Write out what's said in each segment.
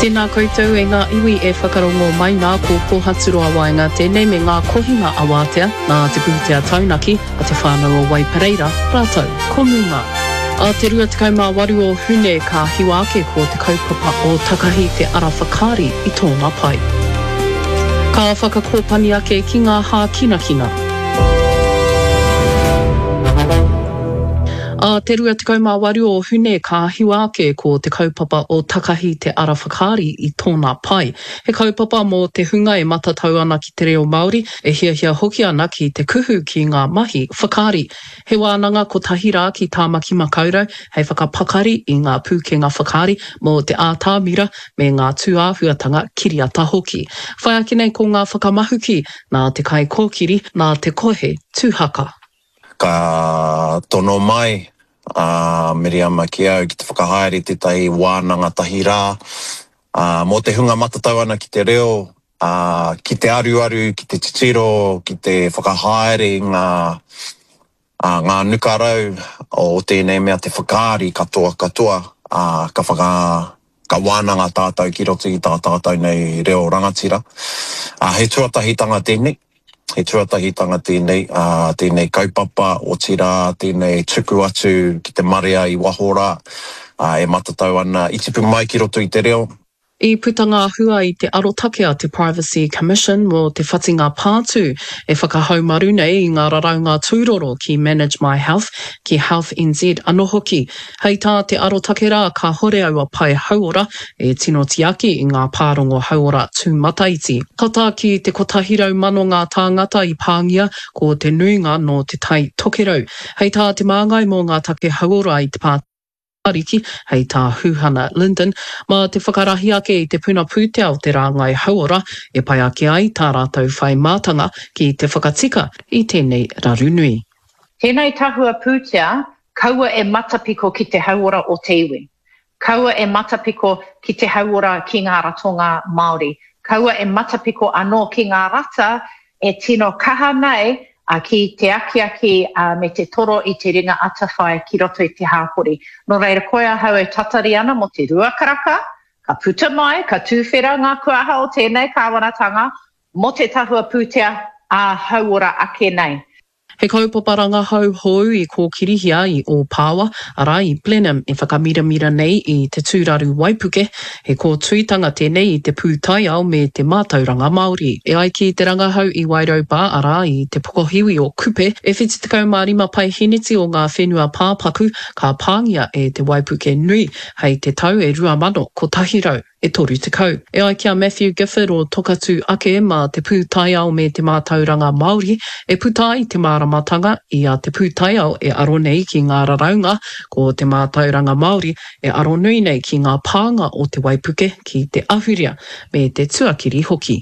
Tēnā koutou e ngā iwi e whakarongo mai nā ko Pōhaturoa Waenga tēnei me ngā kohinga awātea nā te pūtea taunaki a te whānau o Waipareira rātou ko Muma. A te 28 o Hune ka hiwa ake ko te kaupapa o Takahi te ara whakaari i tōna pae. Ka whakakōpani ake ki ngā hākinakina. Ā te 28 o Hune ka hiwa ake ko te kaupapa o Takahi te Ara Whakaari i tōna pae. He kaupapa mō te hunga e matatau ana ki te reo Māori, e hiahia hoki ana ki te kuhu ki ngā mahi whakaari. He wānanga kotahi rā ki Tāmaki Makaurau hei whakapakari i ngā pūkenga whakaari mō te ātamira me ngā tūāhuatanga kiriata hoki. Whai ake nei ko ngā whakamahuki nā te kaikōkiri, nā te kohe Tūhaka. Ka tono mai a Miriama ki au ki te whakahaere tētahi wānanga tahi rā mō te hunga matatau ana ki te reo, ki te aruaru, ki te titiro, ki te whakahaere i ngā, ngā nukarau o tēnei mea te whakaari katoa katoa, ka whaka, ka wānanga tātou ki roto i tā tātou nei reo rangatira. He tuatahitanga tēnei. He tuatahitanga tēnei, ā, tēnei kaupapa, otirā, tēnei tuku atu ki te marea i waho rā, ā, e matatau ana, i tipu mai ki roto i te reo. I puta ngā hua i te arotake a te Privacy Commission mō te whatinga pātū e whakahaumaru nei i ngā raraunga tūroro ki Manage My Health, ki Health NZ anō hoki. Hei tā te arotake rā, kāhore aua pae hauora e tino tiaki i ngā pārongo hauora tūmataiti. Tata ki te 100,000 ngā tāngata i pāngia, ko te nuinga nō Te Tai Tokerau. Hei tā te māngai mō ngā take hauora i te Pāti Ariki, hei tā Huhana Lyndon, mā te whakarahi ake i te puna pūtea o te rāngai hauora e pai ake ai tā rātou whai mātanga ki te whakatika i tēnei raru nui. Tēnei tahua pūtea Kaua e matapiko ki te hauora o te iwi. Kaua e matapiko ki te hauora ki ngā ratonga Māori. Kaua e matapiko anō ki ngā rata e tino kaha nei ki te akiaki me te toro i te ringa atawhai ki roto i te hāpori. Nō reira, koe ahau e tatari ana mō te ruakaraka, ka puta mai, ka tūwhera ngā kuaha o tēnei kāwanatanga mō te tahua pūtea ā-hauora ake nei. He kaupapa rangahau hou i kōkirihia i Ōpāwa, arā, i Blenheim e whakamiramira nei i te tūraru waipuke, he kōtuitanga tēnei i te pūtaiao me te mātauranga Māori. E ai ki te rangahau i Wairau Bar, arā, i te pokohiwi o Kupe, e 75 paeheneti o ngā whenua pāpaku ka pāngia e te waipuke nui hei te tau e 2100. E 30. E ai ki a Matthew Gifford o Tokatū Ake mā te pūtaiao me te mātauranga Māori e puta ai te māramatanga i a te pūtaiao e aro nei ki ngā raraunga, ko te mātauranga Māori e aro nui nei ki ngā pānga o te waipuke ki te ahurea me te tuakiri hoki.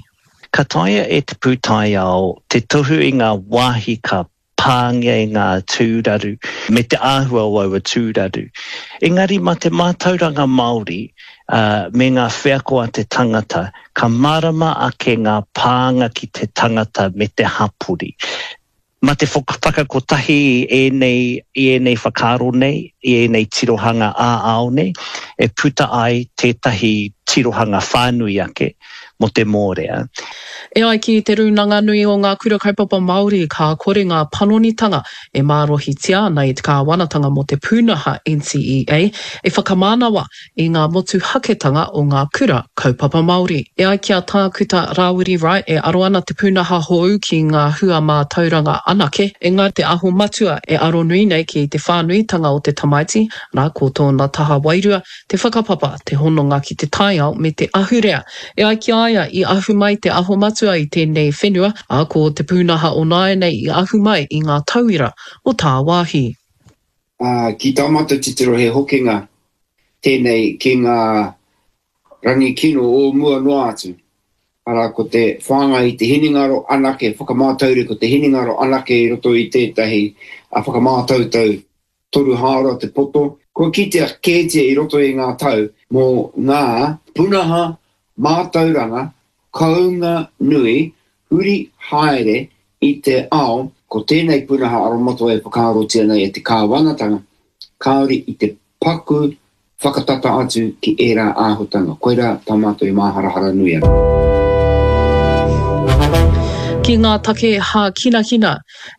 Ka taea e te pūtaiao te tohu i ngā wāhi ka pāngia e ngā tūraru me te āhua o aua tūraru. Engari mā te mātauranga Māori me ngā wheako a te tangata, ka mārama ake ngā pānga ki te tangata me te hapori. Mā te whakakotahi i ēnei, i ēnei whakaaro nei, i ēnei tirohanga ā-ao nei, e puta ai tētahi tirohanga whānui ake mō te mōrea. E ai ki Te Rūnanga Nui o Ngā Kura Kaupapa Māori, ka kore ngā panonitanga e mārohitia ana e te kāwanatanga mō te pūnaha NCEA e whakamānawa i ngā motuhaketanga o ngā kura kaupapa Māori. E ai ki a Tākuta Rāwiri Wright, e aro ana te pūnaha hou ki ngā hua mātauranga anake, engari te aho matua e aro nui nei ki te whānuitanga o te tamaiti, arā, ko tōna taha wairua, te whakapapa, te hononga ki te taiao me te ahurea. E ai ki a ia, i ahu mai te aho matua i tēnei whenua, ā, ko te pūnaha o nāianei i ahu mai i ngā tauira o tāwāhi. Ā, ki tā mātou titiro he hokinga tēnei ki ngā rangi kino o mua noa atu, arā, ko te whāngai i te hinengaro anake, whakamātauri ko te hinengaro anake i roto i tētahi whakamātautau toru hāora te poto. Kua kitea kētia i roto i ngā tau mō ngā punaha mātauranga kounga nui huri haere i te ao, ko tēnei punaha aromatawai e whakaarotia nei e te kāwanatanga, kāore i te paku. whakatata atu ki ērā āhutanga. Koirā tā mātou e māharahara nui ana. Ki ngā take hākinakina,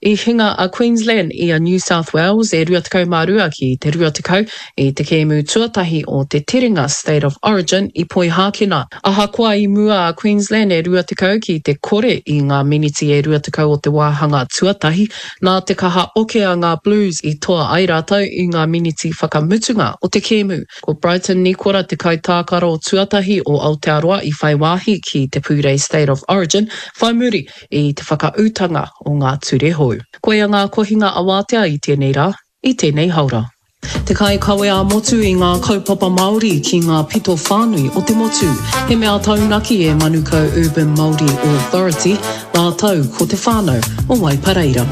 i hinga a Queensland i a New South Wales e 22 ki te 20 i te kēmu tuatahi o te terenga State of Origin i Poihākena. Ahakoa i mua a Queensland e 20 ki te kore i ngā miniti e 20 o te wāhanga tuatahi, Nā te kaha oke a ngā Blues i toa ai rātou i ngā miniti whakamutunga o te kēmu. Ko Brighton Nikora te kaitākaro tuatahi o Aotearoa i whai wāhi ki te pūrei State of Origin whai muri i te whakaūtanga o ngā ture hou. Koia ngā kohinga awātea i tēnei rā, i tēnei haora. Te kaikawe ā-motu i ngā kaupapa Māori ki ngā pito whānui o te motu. He mea taunaki e Manukau Urban Māori Authority rātou ko te whānau o Waipareira.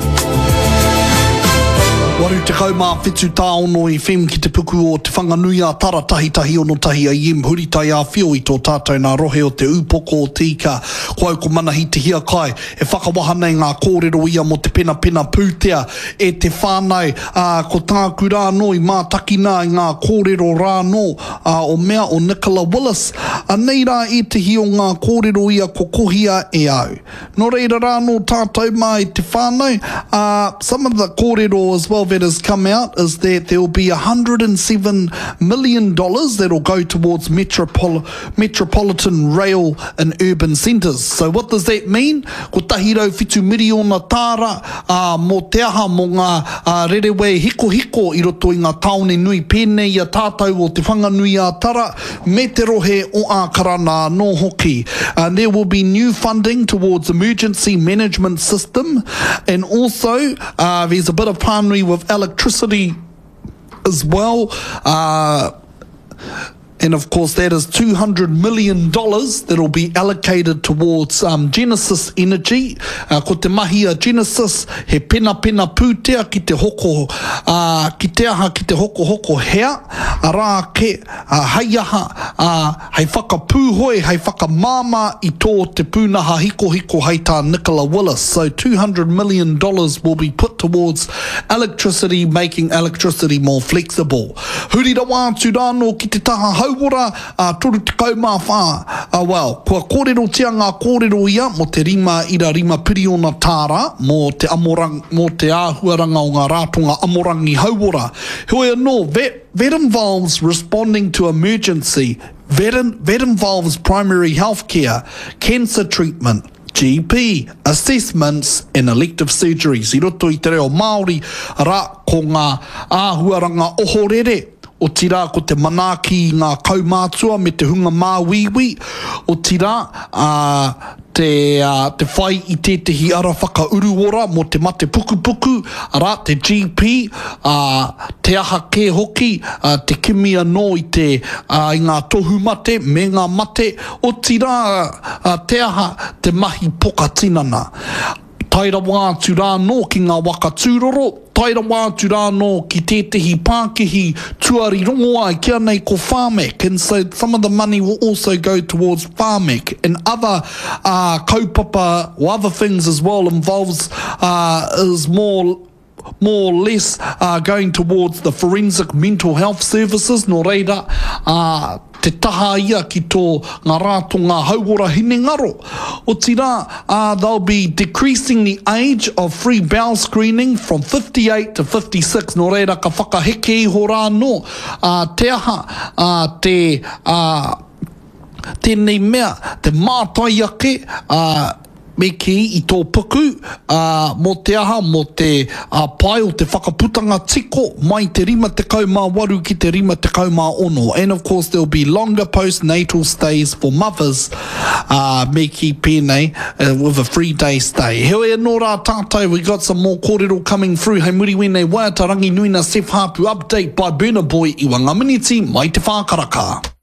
87 tāono i whem ki te puku o Te Whanganui-a-Tara tahitahi ono tahi a Iem Huritai Āwhio i tō tātou nā rohe o Te Ūpoko o Te Ika. Ko au ko Manahi Te Hiakai e whakawaha nei ngā kōrero ia mō te penapena pūtea e te whānau, ā, ko tāku rā anō i mātakina ai ngā kōrero rā anō ā, o mea o Nicola Willis. Anei rā ētehi o ngā kōrero ia ko kohia e au. Nō reira rā anō tātou mā e te whānau, ā, some of the kōrero as well that has come out is that there will be $107 million that will go towards metropol Metropolitan Rail in Urban Centres. So what does that mean? 107 miriona tāra, ā, mō te aha, mō ngā rerewē hikohiko i roto i ngā tāone nui pēnei i a tātou o Te Whanganui-ā-Tara me te rohe o Ākarana anō hoki. There will be new funding towards emergency management system and also there's a bit of pānui with electricity as well. And of course that is $200 million that'll be allocated towards um, Genesis Energy. Uh, ko te mahi a Genesis, he penapena pūtea ki te hoko, uh, ki te aha, ki te hoko hoko hea, arā ke, uh, hei aha, uh, hei whakapūhoi, hei whakamāmā i tō te pūnaha hikohiko hei tā Nicola Willis. So $200 million will be put towards electricity, making electricity more flexible. Huri rawa atu rānō ki te taha hauora, ā, 34, ā, well, kua kōrerotia ngā kōrero ia mō te 5.5 piriona tāra mō te amorang, mō te āhuaranga o ngā rātonga amorangi hauora. Heoi anō, that, that involves responding to emergency, that, that involves primary health care, cancer treatment, GP, assessments and elective surgeries i roto i te reo Māori, arā, ko ngā āhuaranga ohorere, otirā ko te manaaki i ngā kaumātua me te hunga māuiui, otirā, ā, te, ā, te whai i tētehi ara whakauruora mō te mate pukupuku, arā, te GP, ā, te aha kē hoki, ā, te kimi anō i te, ā, i ngā tohumate me ngā mate, otirā, Ā, te aha te mahi poka tinana? Tae rawa atu rā anō ki ngā waka tūroro, tae rawa atu rā anō ki tētehi pākihi tuari rongoā e kīa nei ko Pharmac, and so some of the money will also go towards Pharmac and other uh, kaupapa or other things as well involves uh, is more more or less uh, going towards the forensic mental health services, nō reira, uh, te taha ia ki tō ngā rātonga hauora hinengaro. Otirā, uh, they'll be decreasing the age of free bowel screening from 58 to 56, nō reira ka whakaheke iho rā anō, uh, te aha, uh, te, uh, tēnei mea, te mātai ake, uh, Me kī, i tō puku, ā, mō te aha, mō te pai o te whakaputanga tiko mai te 58 ki te 56. And of course there will be longer postnatal stays for mothers, ā, me kī pēnei, with a free day stay. Heoi anō rā tātou, we got some more kōrero coming through hei muri wēnei waiata Ranginui na Sef Haapu update by Burna Boy iwa ngā miniti mai te whā karaka.